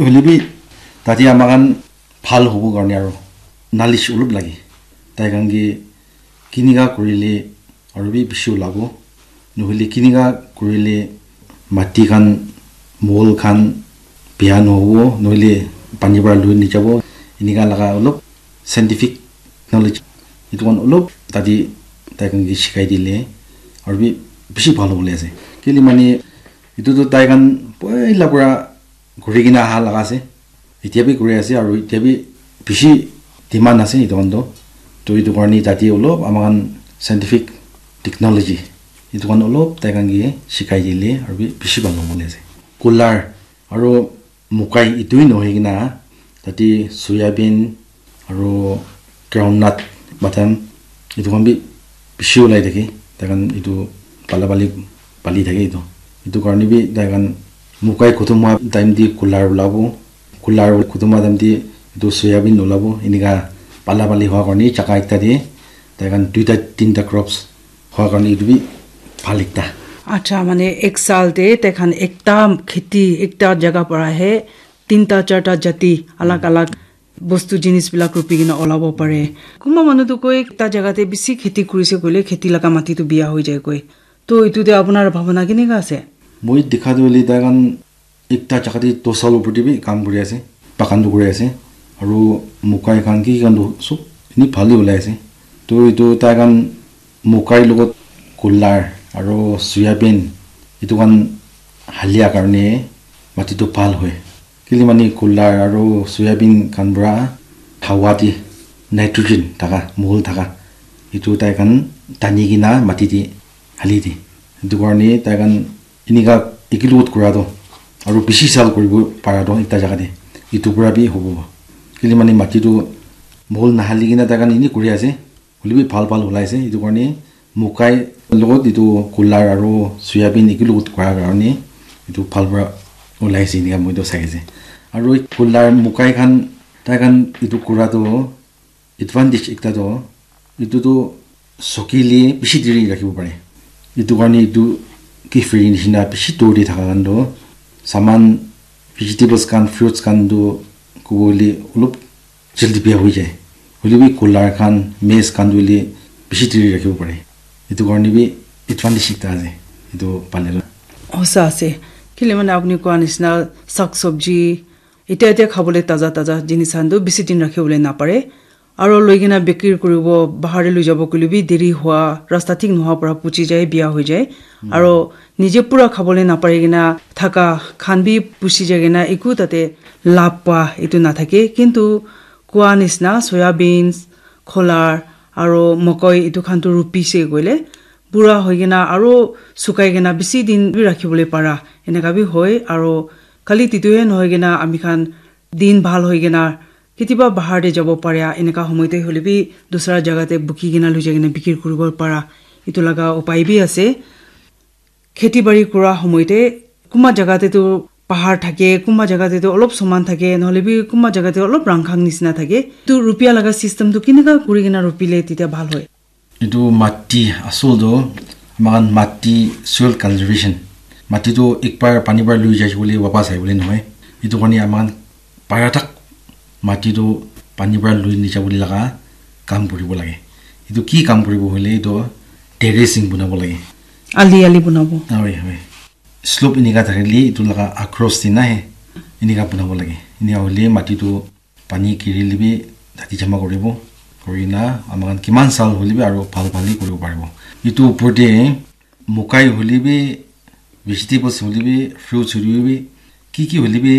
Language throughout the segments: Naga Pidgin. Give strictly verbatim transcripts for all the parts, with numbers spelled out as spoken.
Hoile bi tate ama khan bhal hobo karne aro knowledge olop lage. Tai khan ke kinika kurile aro bi bishi olabo. Nohoile kinika kurile mati khan, mohol khan bia nohobo, nohoile pani para lui nejabo. Enika laga olop scientific knowledge, etu khan olop tate tai khan ke shikai dile aro bi bishi bhal hobole ase. Kile mane etu tu tai khan poila para kuri kena aha laga ase. Etia bi kuri ase aro etia bi bishi demand ase etu khan toh. Toh etu karne tate olop ama khan scientific technology etu khan olop tai khan ke shikai dile aro bi bishi bhal hobole ase. Kular aro mokai etu hi nohoi kena tate soyabean aro groundnut, badam, etu khan bi bishi ulai thake. Tai khan etu pala pali pali thake etu. Etu karne bi tai khan mokai khotom hwa time te kular ulabo. Kular khotom hwa time te etu soyabean ulabo. Enika pala pali hwa karne jaka ekta te tai khan duita tinta crops hwa karne etu bi bhal ekta. Acha, mane ek saal te tai khan ekta kheti, ekta jaga para he tinta charta jati alag alag bostu jinis bilak rupi kena olabo pare. Kunba manu tu koi ekta jaga te bishi kheti kurise koile kheti laga mati tu biya hoi jai koi. To etu te apunar bhabana kenika ase? Moi dikha tu hoile tai khan ekta jaga te dos saal upor te bi kam kuri ase, bagan tu kuri ase, aro mokai khan ki khan tu sob eni bhal he ulai ase. To etu tai khan mokai logot kular aro soyabean etu khan halia karne mati tu bhal hoi. Kile mane kular aro soyabean khan para hawa te nitrogen thaka, mohol thaka, etu tai khan tani kena mati te hali de. Etu karne tai khan enika ekelogot kura toh aro bishi saal kuribo para toh ekta jaga te etu para bi hobo. Kile mane mati toh mohol nahali kena tai khan eni kuri ase, hoile bi bhal bhal ulai ase. Etu karne mokai logot etu kular aro soyabean ekelogot kura karne etu bhal para ulai ase enika moi toh sai ase. Aro kular mokai khan tai khan etu kura toh advantage ekta toh, etu toh sukile bishi deri rakhibo pare. Etu karne etu ki free nishina bishi dur te thaka khan toh saman, vegetables khan, fruits khan toh kobo hoile olop jaldi biya hoi jai. Hoile bi kular khan, maize khan toh hoile bishi deri rakhibo pare. Etu karne bi advantage ekta ase etu pale toh. Hosa ase. Kile mane apni koa nishina sak sabji, etia etia khabole taza taza jinis khan toh bishi din rakhibole napare. Aro loi kena bikri kuribo, bahar te loi jabo koile bi deri hua, rasta thik nohwa para puchi jai, biya hoi jai. Aro nije pura khabole napari kena thaka khan bi puchi jai kena eku tate labh pa etu nathake. Kintu koa nishina soya beans, kholar aro mokoi etu khan toh rupi se koile pura hoi kena aro sukai kena bishi din bi rakhibole para eneka bi hoi. Aro khali titu he nohoi kena ami khan din bhal hoi kena ketiba bahar te jabo paria eneka homoi te hoile bi dusra jaga te buki kena loi jai kena bikri kuribo para etu laga upai bi ase. Kheti bari kura homoi te kunba jaga te toh bahar thake, kunba jaga te toh olop saman thake, nohole bi kunba jaga te olop rangkhang nishina thake. Etu rupia laga system toh kenika kuri kena rupile tetya bhal hoi? Etu mati asol toh, amakhan mati soil conservation. Mati toh ekbar pani para lui jai bole wapas ahi bole nohoi. Etu karne amakhan para tak mati toh pani para lui nija bole laga kam kuribo lage. Etu ki kam kuribo hoile etu terracing bonabo lage. Ali ali bonabo. Hoi, hoi. Slope enika thakile etu laga across te nahi enika bonabo lage. Enika hoile mati toh pani girile bi tate jama kuribo. Kurina amakhan kiman saal hoile bi aro bhal bhal he kuribo paribo. Etu upor te mokai hoile bi, vegetables hoile bi, fruits hoile bi, ki ki hoile bi,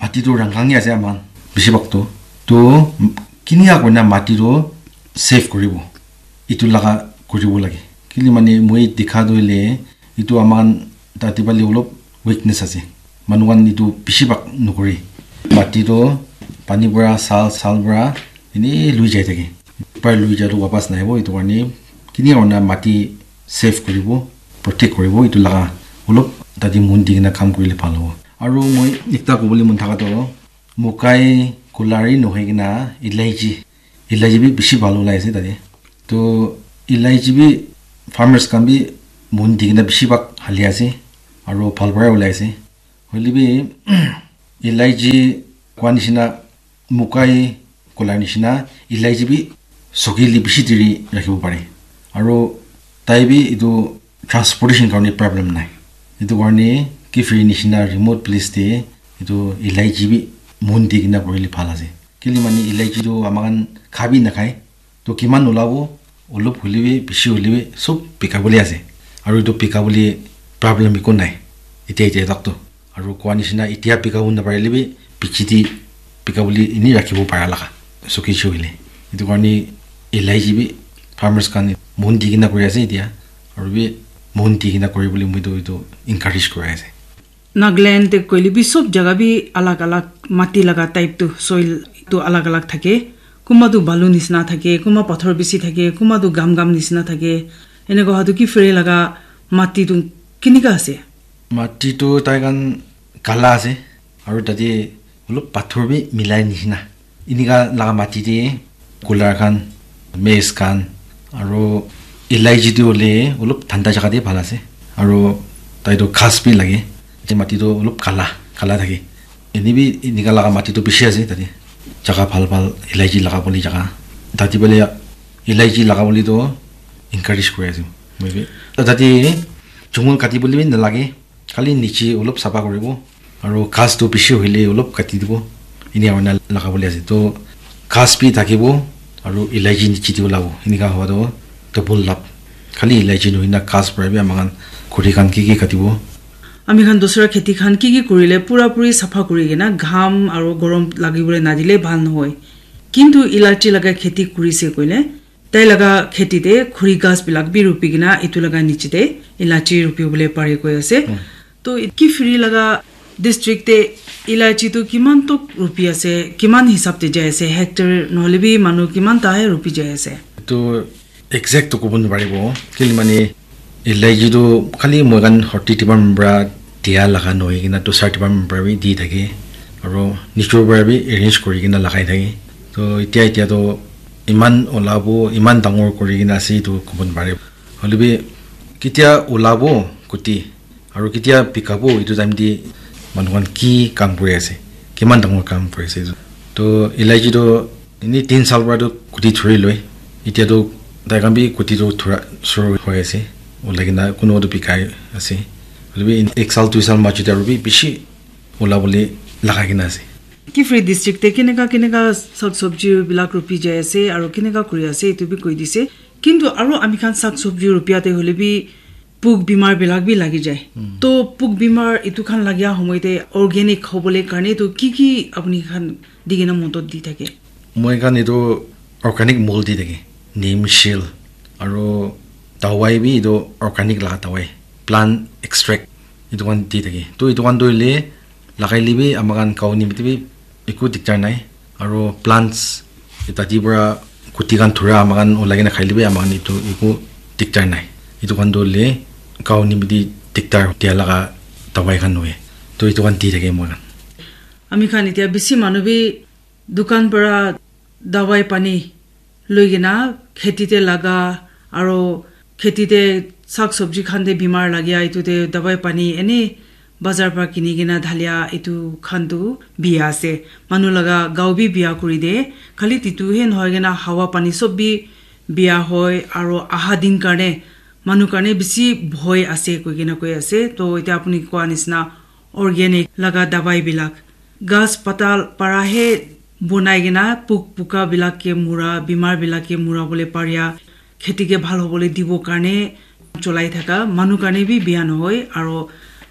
mati toh rangkhang he ase amakhan. Bishi bhag toh. Toh, kinika kurina mati toh save kuribo. Etu laga kuribo lage. Kile mane moi dikha toh hoile, etu amakhan tate phale olop weakness ase. Manu khan etu bishi bhag nokore. Mati toh pani para saal, saal para ene lui jai thake. Para lui jai toh wapas nahibo, etu karne kini hoina mati save kuribo, protect kuribo, etu laga olop tate mon di kena kam kurile bhal hobo. Aru moi ekta kobole mon thaka toh, mokai, kolari nohoi kena elaichi, elaichi bi bishi bhal ulai ase tate. Toh elaichi bi farmers khan bi mon di kena bishi bhag hali ase, aru bhal para ulai ase. Hoile bi Elaichi koa nishina, mukai kola nishina, elaichi bi sokili bishi diri rakhibo pare. Aro tai bi etu transportation karne problem nai. Etu karne Kiphire nishina remote place te etu elaichi bi mon di kena korile bhal ase. Kile mane elaichi tu amakhan kha bi nakhai. To kiman olabo, olop hoilebi, bishi hoilebi, sob bika bole ase. Aru etu bika bole problem eko nai. Etia, etia tak to. Aru koa nishina etia bika bo naparile bi, piche te bika bole eni rakhibo para laga. Sokise hoile. Etu karne elaichi bi farmers khan mon di kena kuri ase etia. Aru bi mon di kena kuri bole moi tu etu encourage kuri ase. Nagaland te koile bi sob jaga bi alag alag mati laga type tu soil tu alag alag thake. Kunba tu balu nisina thake, kunba pathor bishi thake, kunba tu gam gam nisina thake. Eneka hotu Kiphire laga mati tu kenika ase? Mati tu tai khan kala ase, aru tate olop pathor bi milai nishina. Enika laga mati te kular khan, maize khan, aru elaichi tu hoile olop thanda jaga te bhal ase. Aru tai tu ghas bi lage. Tate mati tu olop kala, kala thake. Eni bi enika laga mati tu bishi ase tate. Jaga bhal bhal elaichi laga bole jaga. Tate bole elaichi laga bole tu encourage kuri ase. Moi bi. Tate jungle kati bole bi nalage. Khali niche olop sapha kuribo. Aru ghas tu bishi hoile olop kati dibo. Eni aurna laga bole ase. To ghas bi thakibo. Aru elaichi niche te olabo. Enika howa to double lab. Khali elaichi nohoi na ghas para bi amakhan khuri khan ki ki katibo. Ami khan dusra kheti khan ki ki kurile pura puri sapha kuri kena gham aru gorom lagi bole nadile bhal nohoi. Kintu elaichi laga kheti kurise koile, tai laga kheti te khuri ghas bilak bi rupi kena etu laga niche te elaichi rupi bole pare koi ase. To Kiphire laga district te elaichi tu kiman tok rupi ase, kiman hisab te jai ase, hectare nohole bi manu kiman ta he rupi jai ase? To exact to kobo naparibo. Kile mane elaichi tu khali moi khan Horti department para dia laga nohoi kena dusra department para bi di thake. Aru nichor para bi arrange kuri kena lagai thake. To etia, etia to iman olabo, iman dangor kuri kena ase etu kobo napare. Hoile bi ketia olabo kuti aru ketia bikabo etu time te manu khan ki kam kuri ase, kiman dangor kam kuri ase etu. To elaichi to eni tin saal para to kuti thori loi. Etia to tai khan bi kuti to thora suru hoi ase. Olai kena kunuba to bikai ase. Hoile bi ek saal, dui saal majo te aru bi bishi ola bole lagai kena ase. Kiphire district te keneka keneka sak sabji bilak rupi jai ase aru keneka kuri ase etu bi koi dise. Kintu aru ami khan sak sabji rupia te hoile bi puk bimar bilak bi lagi jai. To puk bimar etu khan lagia homoi te organic hobole karne to ki ki apni khan di kena modot di thake? Moi khan etu organic mol di thake. Neem shell aru dawai bi etu organic laga dawai, plant extract etu khan di thake. To etu khan to hoile lagai le bi ama khan gao nimite bi eku diktar nai. Aru plants tati para kuti khan thura ama khan ulai kena khai le bi ama khan etu eku diktar nai. Etu khan to hoile gao nimite diktar dia laga dawai khan nohoi. To etu khan di thake moi khan. Ami khan etia bishi manu bi dukan para dawai pani loi kena kheti te laga aru kheti te sak sabji khan te bimar lagia etu te dawai pani eni bazar para kini kena dhalia etu khan tu bia ase. Manu laga gao bi bia kuri de. Khali titu he nohoi kena hawa pani sob bi bia hoi aru aha din karne manu karne bishi bhoi ase koi kena koi ase. To etia apuni koa nisna organic laga dawai bilak ghas pata para he bonai kena puk puka bilak ke mura, bimar bilak ke mura bole paria, kheti ke bhal hobole dibo karne cholai thaka manu karne bi bia nohoi, aro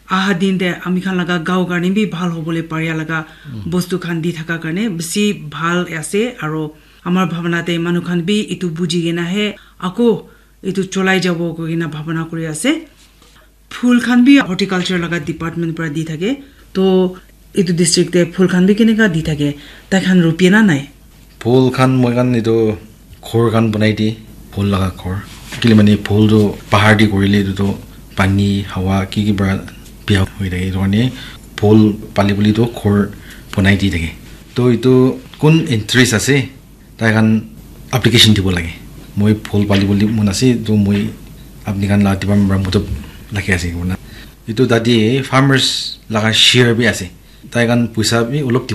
aha din te ami khan laga gao karne bi bhal hobole paria laga bostu khan di thaka karne bishi bhal ase, aro amar bhabana te manu khan bi etu buji kena he ako etu cholai jabo koi kena bhabana kuri ase. Phul khan bi horticulture laga department para di thake. To etu district te phul khan bi keneka di thake? Tai khan rupia na nai? Phul khan moi khan etu ghor khan banai di, phul laga ghor. Kile mane phul tu bahar di korile etu tu pani, hawa, ki ki para bia hoi thake. Etu karne phul pali bole tu ghor banai di thake. To etu kun interest ase, tai khan application dibo lage. Moi phul pali bole mon ase, to moi apni khan la department para moto lage ase koina. Etu tate farmers laga share bi ase. Tai khan poisa bi olop dibo